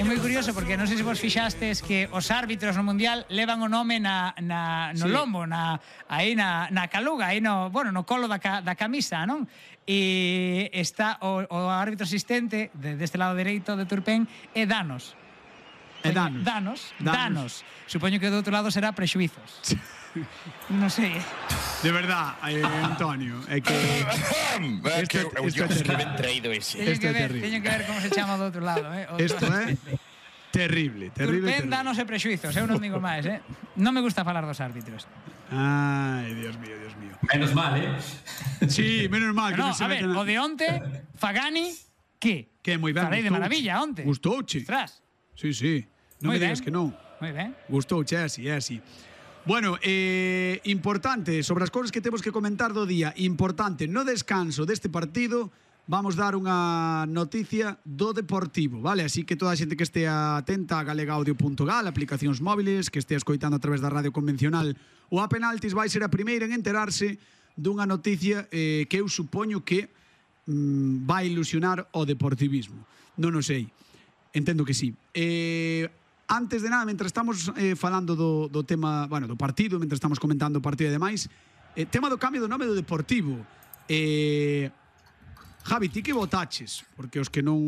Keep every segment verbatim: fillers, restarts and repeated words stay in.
moi curioso porque non sei se vos fixastes que os árbitros no Mundial levan o nome na, na, no sí. lombo, na, aí na, na caluga, aí no, bueno, no colo da, ca, da camisa, non? E está o, o árbitro asistente de, deste lado dereito de Turpén é Danos. É Danos. Danos. Danos. Supoño que do outro lado será Prexuizos. Non sei. De verdad, eh, Antonio, é que isto é ben traído ese. Teño que ver, teño que ver como se chama do outro lado, eh. Isto é terrible, terrible. Turpén, Danos e Prexuizos, eu non digo máis, eh. Non me gusta falar dos árbitros. Ai, Dios mío, Dios mío. Menos mal, eh. Sí, menos mal que no, non se a ver, meten o de onte, Fagani, que? Que moi ben. Falei de maravilla onte. Gustouche. Ostras. Sí, sí. Non me digas que non. Moi ben. Gustouche, é así, é así. Bueno, eh, importante, sobre as cousas que temos que comentar do día, importante, no descanso deste partido vamos dar unha noticia do Deportivo, vale? Así que toda a xente que estea atenta a galegaudio punto gal, aplicacións móviles, que estea escoitando a través da radio convencional ou a penaltis, vai ser a primeira en enterarse dunha noticia eh, que eu supoño que mm, vai ilusionar o deportivismo. Non o sei, entendo que sí. Eh... Antes de nada, mentre estamos eh, falando do, do tema, bueno, do partido, mentre estamos comentando o partido e demais, eh, tema do cambio do nome do Deportivo. Eh, Javi, ti que votaches? Porque os que non,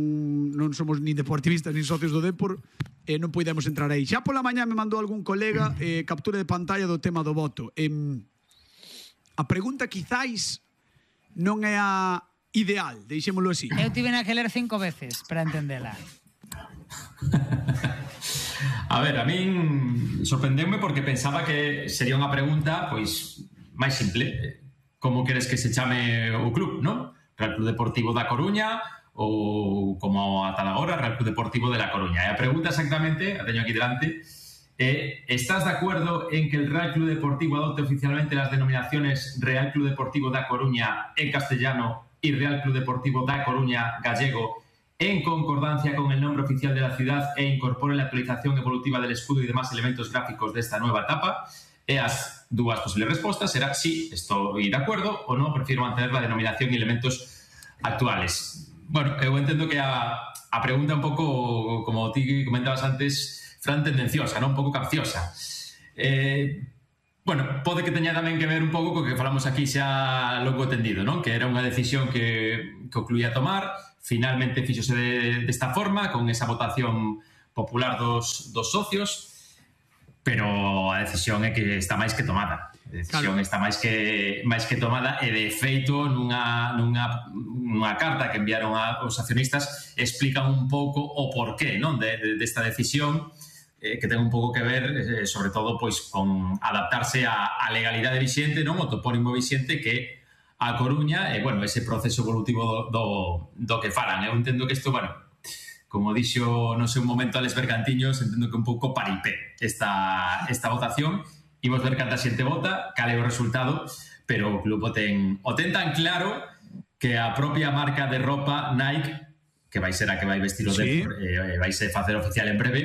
non somos nin deportivistas nin socios do Depor, eh, non podemos entrar aí. Xa pola mañá me mandou algún colega eh, captura de pantalla do tema do voto. Eh, a pregunta quizáis non é a ideal, deixémolo así. Eu tive na que ler cinco veces para entendela. A ver, a min sorprendeume porque pensaba que sería unha pregunta pois máis simple. Como queres que se chame o club, non? Real Club Deportivo da Coruña ou como ata agora Real Club Deportivo de La Coruña. E a pregunta exactamente, a teño aquí delante, é: ¿estás de acuerdo en que el Real Club Deportivo adopte oficialmente las denominaciones Real Club Deportivo da Coruña en castellano y Real Club Deportivo da Coruña gallego en concordancia con el nombre oficial de la ciudad e incorpore la actualización evolutiva del escudo y demás elementos gráficos de esta nueva etapa? E as dúas posibles respostas será sí, estoy de acuerdo, o no, prefiero mantener la denominación y elementos actuales. Bueno, eu entendo que a, a pregunta un pouco, como ti comentabas antes, Fran, tendenciosa, non? Un pouco capciosa. Eh, bueno, pode que teña tamén que ver un pouco co que falamos aquí xa longo tendido, non? Que era unha decisión que, que o club ia tomar. Finalmente fíxose de, desta forma, con esa votación popular dos, dos socios, pero a decisión é que está máis que tomada. A decisión claro. está máis que máis que tomada e, de feito, nunha, nunha, nunha carta que enviaron aos accionistas explican un pouco o porqué, non, de, de, desta decisión, eh, que ten un pouco que ver, eh, sobre todo, pois, con adaptarse á, á legalidade vixente, non, o topónimo vixente que a Coruña, e, bueno, ese proceso evolutivo do, do, do que falan. Eu entendo que isto, bueno, como dixo, non sei, un momento Alex Bergantiños, entendo que un pouco paripé esta, esta votación. Imos ver canta xente vota, cal é o resultado, pero o club o ten, o ten tan claro que a propia marca de ropa Nike, que vai ser a que vai vestir o sí. Depor, eh, vai ser facer oficial en breve,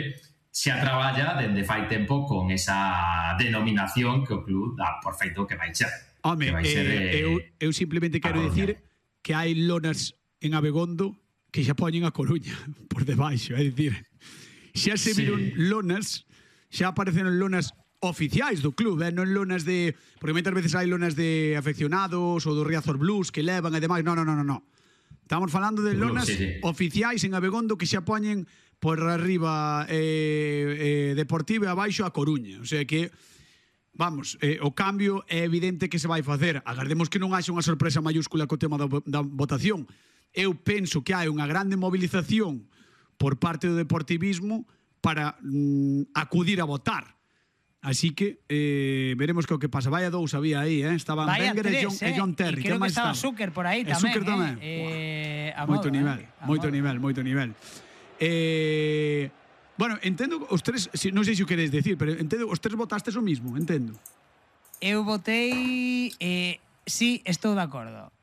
xa traballa dende fai tempo con esa denominación que o club dá por feito que vai ser. Home, eh, ser, eh, eu, eu simplemente quero dicir que hai lonas en Abegondo que xa poñen a Coruña por debaixo, é dicir, xa se viron sí. lonas, xa apareceron lonas oficiais do club, eh? Non lonas de... Porque moitas veces hai lonas de afeccionados ou do Riazor Blues que levan e demais. Non, non, non, non. Estamos falando de lonas sí, sí. oficiais en Abegondo que xa poñen por arriba eh, eh, Deportivo e abaixo a Coruña. O sea que... Vamos, eh, o cambio é evidente que se vai facer. Agardemos que non haxa unha sorpresa mayúscula co tema da, da votación. Eu penso que hai unha grande movilización por parte do deportivismo para mm, acudir a votar. Así que eh, veremos que o que pasa. Vaya dous había aí, eh? Estaban Vaya Wenger tres, e John, eh? e John Terry. E creo que estaba Zucker por aí tamén. Zucker tamén. Eh? Eh, moito modo, nivel, eh? moito modo. nivel, moito nivel. Eh... Bueno, entendo os tres, non sei se o queres decir, pero entendo, os tres votastes o mismo, entendo. Eu votei eh, sí, estou de acordo.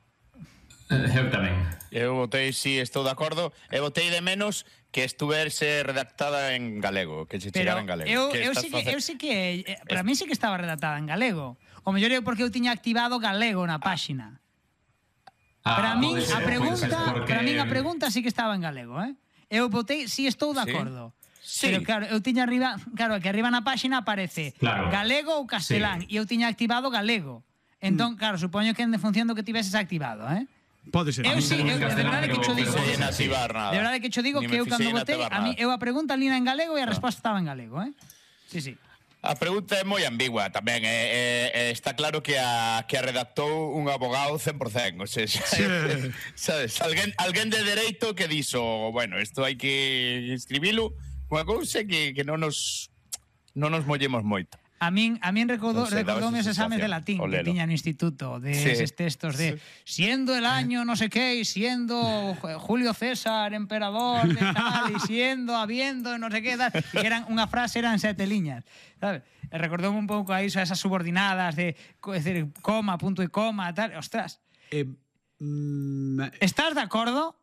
Eu tamén. Eu votei sí, estou de acordo. E votei de menos que estuverse redactada en galego, que se chegara en galego. Eu, que eu, sí que, eu sí que, eh, para mí sí que estaba redactada en galego. O mellor é porque eu tiña activado galego na páxina. Ah, para min ser, a pregunta, porque... para min a pregunta sí que estaba en galego, eh? eu votei si estou de Sí. acordo. Sí. Pero claro, eu tiña arriba, claro, que arriba na páxina aparece Claro. galego ou castelán, e eu tiña activado galego. Entón, claro, supoño que en función do que tiveses activado, eh? Pode ser. Eu mí sí, tamén eu, me de castelán, verdade que pero- cho digo. Non pero- sei activar nada. De verdade que cho digo Ni que me eu cando fixei en votei, activar a mí, nada. eu a pregunta lina en galego e a resposta estaba en galego, eh? Sí, sí. A pregunta é moi ambigua tamén. É, é, é, está claro que a, que a redactou un abogado cen por cen. O sea, sabes, alguén, alguén de dereito que dixo, bueno, isto hai que escribilo, unha cousa que, que non nos non nos mollemos moito. A min, a min recordou, Non sei, daba recordoume os esa exames de sensación, latín o que lelo. tiña no instituto, de Sí. eses textos de siendo el año no sé qué, y siendo Julio César emperador de tal, y siendo, habiendo, no sé qué, tal, y que eran unha frase eran sete liñas, sabes? E recordoume un pouco a iso, a esas subordinadas de, co- es decir, coma, punto e coma, tal, ostras, Eh, mm, ¿estás de acuerdo?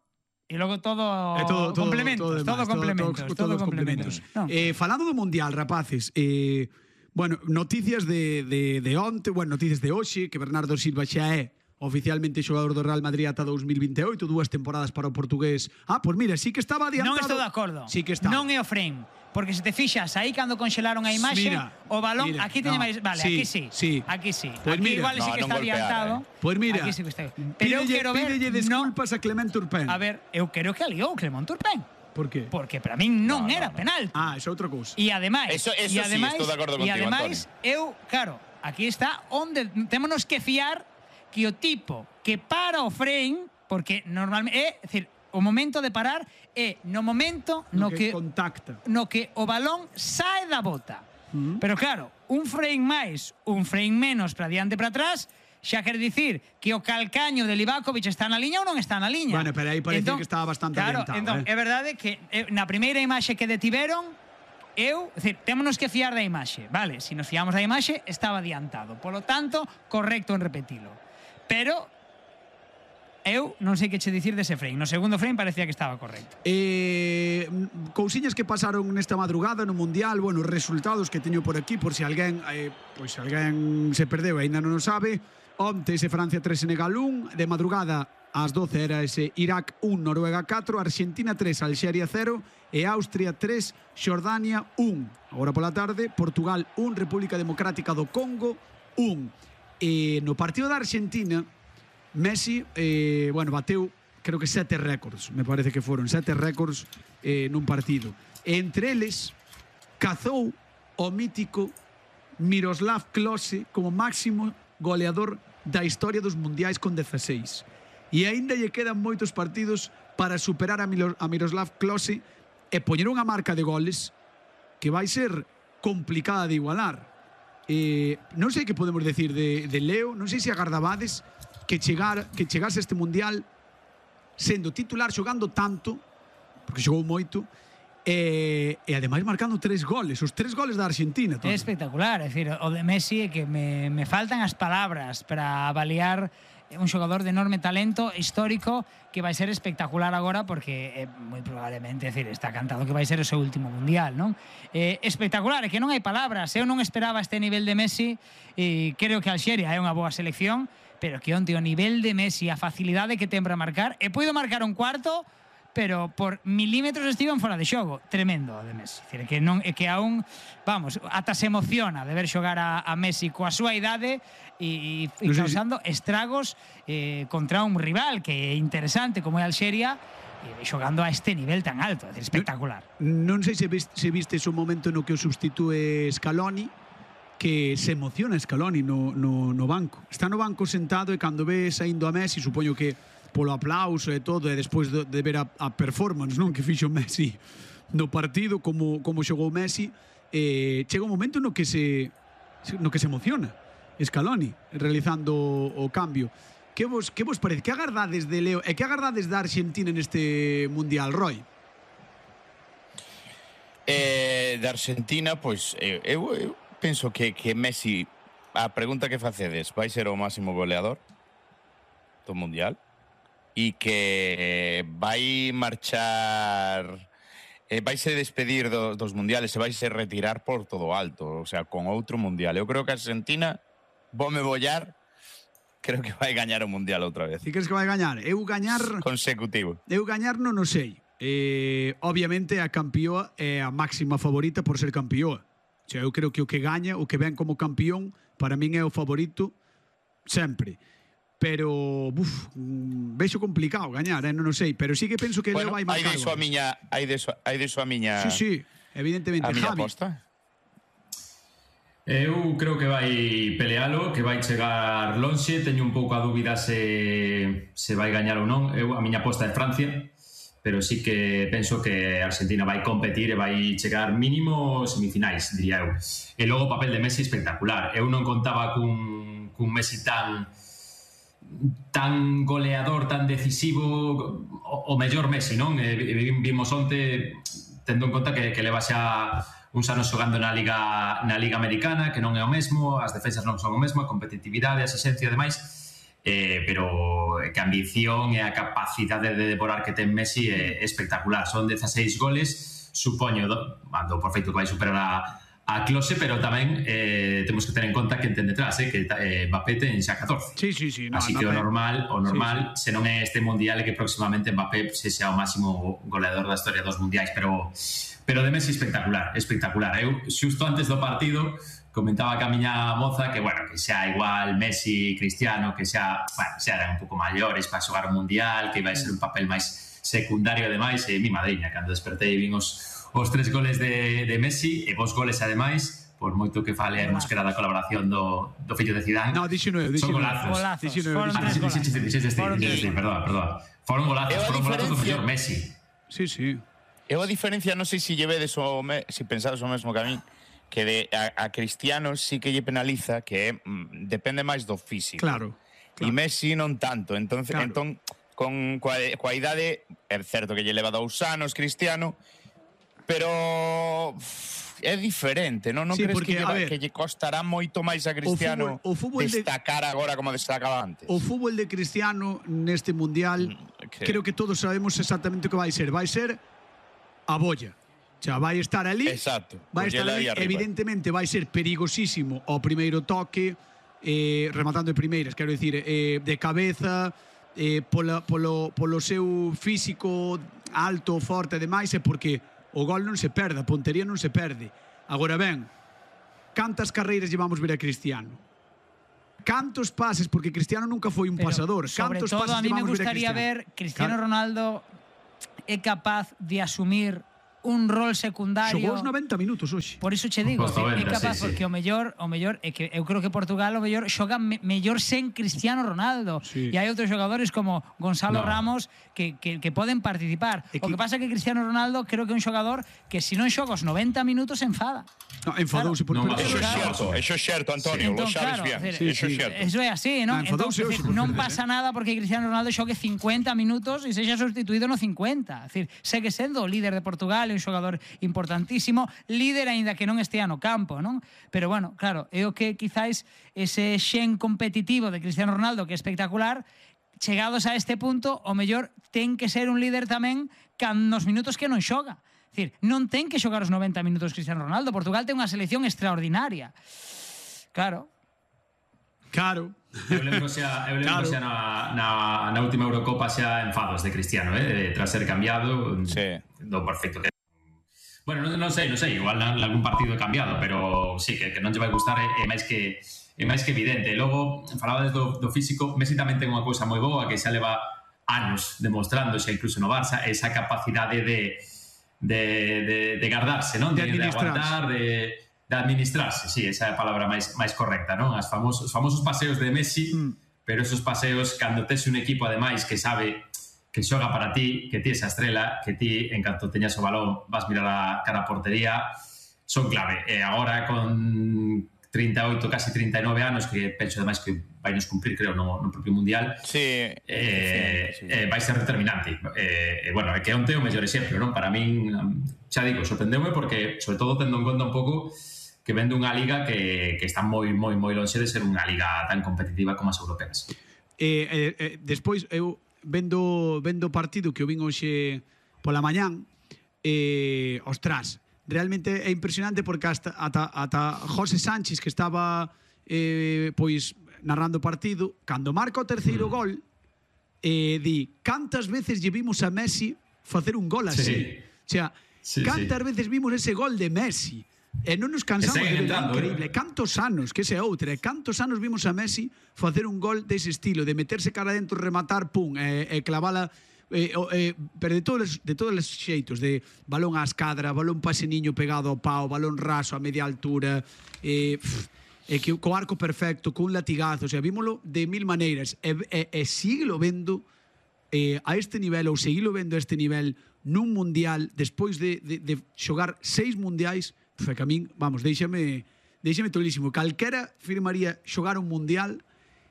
Y luego todo, É todo, todo, complementos, todo, todo, demais, complementos, todo, todo, todos complementos. No. Eh, falando do Mundial, rapaces, eh, bueno, noticias de, de, de onte, bueno, noticias de hoxe, que Bernardo Silva xa é oficialmente xogador do Real Madrid ata dous mil vinte e oito, dúas temporadas para o portugués. Ah, pois mira, sí que estaba adiantado. Non estou de acordo. Sí que está. Non é o frame. Porque se te fixas, aí cando conxelaron a imaxe, Mira, o balón, mira, aquí teña no, máis... Vale, sí, aquí sí. sí. Aquí sí. Pues aquí mira. igual sí No, que non está golpear, adiantado. eh. Pois mira, Aquí sí que está. Pero eu pídelle, quero ver... pídelle desculpas a Clement Turpin. A ver, eu quero que aliou Clement Turpin. Por qué? Porque para min non No, no, era no. penal. Ah, esa é outra cousa. E ademais, Eso- eso e sí, ademais, estou de acordo e contigo, ademais eu, claro, aquí está onde témonos que fiar que o tipo que para o frame, porque normalmente é, decir, o momento de parar é no momento no, No que que, contacta. no que o balón sae da bota. Mm. Pero claro, un frame máis, un frame menos para diante e para atrás, xa quer dicir que o calcaño de Livakovic está na liña ou non está na liña. Bueno, pero aí parecía que estaba bastante claro, adiantado, Entón, eh. é verdade que eh, na primeira imaxe que detiveron, eu, é dicir, témonos que fiar da imaxe, vale? Se nos fiamos da imaxe, estaba adiantado. Polo tanto, correcto en repetilo. Pero eu non sei que che dicir dese frame. No segundo frame parecía que estaba correcto. Eh, cousiñas que pasaron nesta madrugada no Mundial, bueno, resultados que teño por aquí, por se alguén, eh, pois se alguén se perdeu e aínda non o sabe. Onte ese Francia tres, Senegal un, de madrugada ás doce era ese Irak un, Noruega catro, Argentina tres, Alxeria cero e Austria tres, Xordania un. Agora pola tarde, Portugal un, República Democrática do Congo un. E no partido da Argentina, Messi, eh, bueno, bateu creo que sete récords, me parece que foron sete récords eh, nun partido. E entre eles, cazou o mítico Miroslav Klose como máximo goleador da historia dos mundiais con dezaseis. E aínda lle quedan moitos partidos para superar a, Milo, a Miroslav Klose e poñer unha marca de goles que vai ser complicada de igualar. Eh, non sei que podemos decir de, de Leo, non sei se agardabades que chegar que chegase este mundial sendo titular, xogando tanto, porque xogou moito, e, e ademais marcando tres goles, os tres goles da Argentina. É espectacular, é dicir, o de Messi é que me, me faltan as palabras para avaliar un xogador de enorme talento histórico que vai ser espectacular agora porque eh, moi probablemente, é dicir, está cantado que vai ser o seu último mundial, non? Eh, espectacular, é que non hai palabras, eu non esperaba este nivel de Messi e creo que Alxeria é unha boa selección, pero que onte o nivel de Messi, a facilidade que ten para marcar, e puido marcar un cuarto, pero por milímetros estiven fora de xogo. Tremendo o de Messi. É dicir, que non é que aún, vamos, ata se emociona de ver xogar a, a Messi coa súa idade e, e, e Non sei causando estragos eh, contra un rival que é interesante como é Alxeria e xogando a este nivel tan alto. É dicir, espectacular. Non sei se viste, se viste o momento no que o substitúe Scaloni, que se emociona Scaloni no, no, no banco. Está no banco sentado e cando ve saindo a Messi, supoño que polo aplauso e todo, e despois de, de ver a, a performance, non, que fixo Messi no partido, como, como xogou Messi, eh, chega un momento no que se no que se emociona Scaloni realizando o, o cambio. Que vos, que vos parece? Que agardades de Leo e que agardades da Argentina neste Mundial, Roy? Eh, de Argentina, pois, eu, eu, eu penso que, que Messi, a pregunta que facedes, vai ser o máximo goleador do Mundial e que vai marchar, eh, vai se despedir do, dos mundiales e vai se retirar por todo alto, o sea, con outro Mundial. Eu creo que a Argentina, vome bollar, creo que vai gañar o Mundial outra vez. Ti crees que vai gañar? Eu gañar... Consecutivo. Eu gañar non o sei, eh, obviamente a campeoa é a máxima favorita por ser campeoa. O sea, eu creo que o que gaña, o que ven como campeón, para min é o favorito sempre. Pero, buf, vexo complicado gañar, eh? non o sei, pero sí que penso que bueno, ele vai marcar. Hai de iso a miña, hai de iso, hai de iso a miña. Sí, sí, evidentemente. A miña Javi. aposta. Eu creo que vai pelealo, que vai chegar lonxe. Teño un pouco a dúbida se, se vai gañar ou non. Eu, a miña aposta é Francia, pero sí que penso que Argentina vai competir e vai chegar mínimo semifinais, diría eu. E logo o papel de Messi espectacular. Eu non contaba cun, cun Messi tan tan goleador, tan decisivo, o, o mellor Messi, non? E, vimos onte, tendo en conta que, que leva xa uns anos xogando na Liga na Liga Americana, que non é o mesmo, as defensas non son o mesmo, a competitividade, a esencia e demais, eh, pero que a ambición e a capacidade de devorar que ten Messi é espectacular. Son dezaseis goles, supoño, do, do por feito que vai superar a a Klose, pero tamén eh, temos que ter en conta que ten detrás, eh, que eh, Mbappé ten xa catorce. Sí, sí, sí. No, así no, que o no, normal, o normal, sí, sí. se non é este mundial é que próximamente Mbappé se xa o máximo goleador da historia dos mundiais, pero pero de Messi espectacular, espectacular. Eu xusto antes do partido comentaba que a miña moza que, bueno, que xa igual Messi, Cristiano, que xa, bueno, xa eran un pouco maiores para xogar o mundial, que iba a ser un papel máis secundario ademais, e mi madriña, cando despertei vin os os tres goles de, de Messi e vos goles ademais, por moito que fale a mosquera da colaboración do, do fillo de Zidane. No, diecinueve, diecinueve. Son golazos. Foron tres golazos. Perdón, perdón. Foron golazos, foron golazos do mellor Messi. Sí, sí. Eu a diferencia, non sei se llevedes o me, si pensades o mesmo que a mí, que de, a, a Cristiano sí que lle penaliza, que mm, depende máis do físico. Claro. claro. E Messi non tanto. Entonces, claro. entón, con coa, coa idade, é certo que lle leva dous anos Cristiano, pero é diferente, non? Non sí, crees porque, que, lleva, ver, que lle costará moito máis a Cristiano o fútbol, o fútbol destacar de, agora como destacaba antes? O fútbol de Cristiano neste mundial, mm, okay. creo que todos sabemos exactamente o que vai ser. Vai ser a bolla. O sea, vai estar ali. Exacto. Vai estar ali, evidentemente vai ser perigosísimo ao primeiro toque, eh, rematando de primeiras, quero dicir, eh, de cabeza, eh, pola, polo, polo seu físico alto, forte e demais, é porque o gol non se perde, a pontería non se perde. Agora ben, cantas carreiras llevamos ver a Cristiano? Cantos pases, porque Cristiano nunca foi un pero, pasador. Sobre Cantos todo, pases a mí me ver gustaría a Cristiano? ver Cristiano claro. Ronaldo é capaz de asumir un rol secundario. Xogou os noventa minutos hoxe. Por iso che digo, noventa, é capaz, sí, porque sí. o mellor, o mellor é que eu creo que Portugal o mellor xoga me, mellor sen Cristiano Ronaldo. Sí. E hai outros xogadores como Gonzalo no. Ramos que, que, que poden participar. Que... O que pasa é que Cristiano Ronaldo creo que é un xogador que se non xoga os noventa minutos se enfada. No, enfadouse claro. por No, Eso é Claro. certo, eso é certo, Antonio, Sí. lo Entón, sabes claro, bien. decir, Eso é sí. certo. Eso é así, non? No, Entón, enfadouse hoxe por non veces, pasa eh. nada porque Cristiano Ronaldo xogue cincuenta minutos e sexa sustituído no cincuenta. É dicir, segue sendo o líder de Portugal, un xogador importantísimo, líder aínda que non estea no campo, non? Pero bueno, claro, é o que quizáis ese xen competitivo de Cristiano Ronaldo que é espectacular, chegados a este punto, o mellor ten que ser un líder tamén can nos minutos que non xoga. É dicir, non ten que xogar os noventa minutos Cristiano Ronaldo. Portugal ten unha selección extraordinaria. Claro. Claro. Eu lembro xa, eu lembro Claro. xa na, na, na última Eurocopa xa enfados de Cristiano, eh, tras ser cambiado, Sí. do perfecto que Bueno, non, non sei, non sei, igual algún partido é cambiado, pero sí, que, que non lle vai gustar é, é máis que é máis que evidente. Logo, falabades do, do físico, Messi tamén ten unha cousa moi boa que xa leva anos demostrando, xa incluso no Barça, esa capacidade de de, de, de guardarse, non? De De, de aguantar, de, de administrarse, sí, esa é a palabra máis, máis correcta, non? As famosos, os famosos paseos de Messi, mm. pero esos paseos, cando tes un equipo, ademais, que sabe que xoga para ti, que ti esa estrela, que ti, en canto teñas o balón, vas mirar a cara a portería, son clave. E agora, con trinta e oito, casi trinta e nove anos, que penso ademais que vai nos cumprir, creo, no, no propio Mundial, Sí, eh, sí, sí. eh, vai ser determinante. Eh, eh, bueno, é que onte o mellor exemplo, non? Para min, xa digo, sorprendeume porque, sobre todo, tendo en conta un pouco que vende unha liga que, que está moi, moi, moi lonxe de ser unha liga tan competitiva como as europeas. Eh, eh, eh, despois, eu vendo vendo o partido que eu vin hoxe pola mañán, eh, ostras, realmente é impresionante porque hasta, ata, ata José Sánchez, que estaba eh, pois narrando o partido, cando marca o terceiro mm. gol, eh, di, cantas veces lle vimos a Messi facer un gol así. Sí. O sea, Sí, cantas sí. veces vimos ese gol de Messi e non nos cansamos E de seguen ver, entrando, increíble. eh. Cantos anos, que ese é outra, e cantos anos vimos a Messi facer un gol dese estilo, de meterse cara dentro, rematar, pum, e, e clavala, e, o- e, pero de todos, de todos os xeitos, de balón á escadra, balón pase niño pegado ao pau, balón raso a media altura, e, pff, e que co arco perfecto, cun latigazo, o sea, vímolo de mil maneiras, e, e, e síguelo vendo eh, a este nivel, ou seguilo vendo a este nivel nun mundial, despois de, de, de xogar seis mundiais, foi que a min, vamos, deixame, deixame tolísimo. Calquera firmaría xogar un mundial,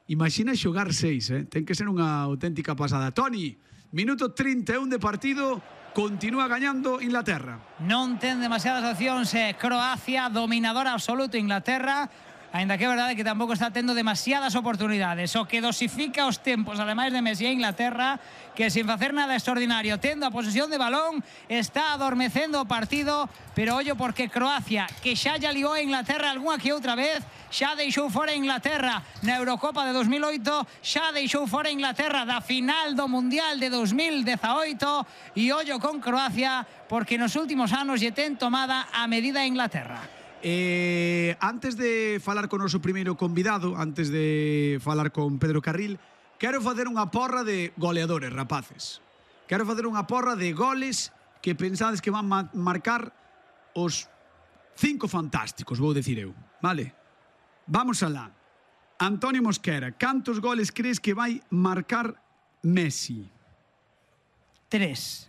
imagina xogar seis, eh? Ten que ser unha auténtica pasada. Toni, minuto trinta e un de partido, continúa gañando Inglaterra. Non ten demasiadas opcións eh, Croacia, dominador absoluto Inglaterra, aínda que é verdade que tampouco está tendo demasiadas oportunidades. O que dosifica os tempos, ademais de Messi e Inglaterra, que sin facer nada extraordinario, tendo a posesión de balón, está adormecendo o partido, pero ollo porque Croacia, que xa lla liou a Inglaterra algunha que outra vez, xa deixou fora a Inglaterra na Eurocopa de dos mil oito, xa deixou fora a Inglaterra da final do Mundial de dos mil dezaoito, e ollo con Croacia, porque nos últimos anos lle ten tomada a medida a Inglaterra. Eh, antes de falar con o noso primeiro convidado, antes de falar con Pedro Carril, quero facer unha porra de goleadores, rapaces. Quero facer unha porra de goles que pensades que van ma marcar os cinco fantásticos, vou decir eu, vale? Vamos alá. Antonio Mosquera, cantos goles crees que vai marcar Messi? Tres.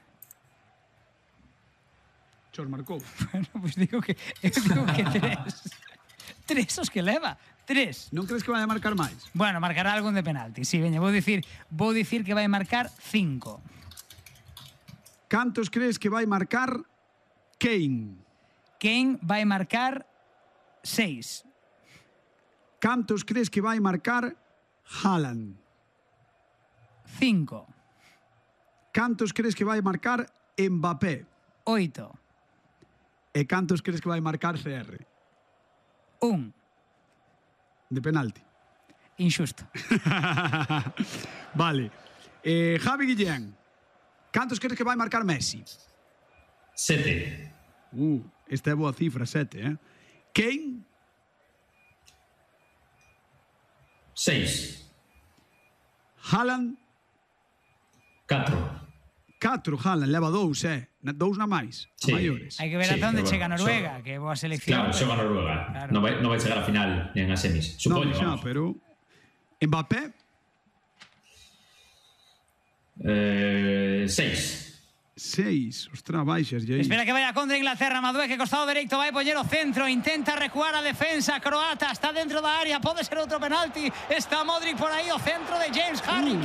Chos marcou. Bueno, pues digo que, eu digo que tres. Tres os que leva. Tres. Non crees que vai a marcar máis? Bueno, marcará algún de penalti. Sí, veña, vou dicir, vou dicir que vai marcar cinco. Cantos crees que vai marcar Kane? Kane vai marcar seis. Cantos crees que vai marcar Haaland? Cinco. Cantos crees que vai marcar Mbappé? Oito. E cantos crees que vai marcar C R? Un. De penalti. Injusto. Vale. Eh, Javi Guillén, cantos crees que vai marcar Messi? Sete. Uh, esta é boa cifra, sete, eh? Kane? Seis. Haaland? Catro. Catro, Haaland, leva dous, eh? Na- Dous na máis, Sí. a maiores. Hai que ver Sí, ata onde pero chega bueno, Noruega, so- que é boa selección. Claro, xoga Noruega. Claro. Non vai, non vai chegar a final nin a semis. Non, Supoño, xa, vamos. pero... Mbappé? Eh, seis. Seis. Ostras, baixas, aí. Espera que vaya contra Inglaterra. Madueque, costado dereito, vai poñer o centro. Intenta recuar a defensa croata. Está dentro da área. Pode ser outro penalti. Está Modric por aí. O centro de James Harry.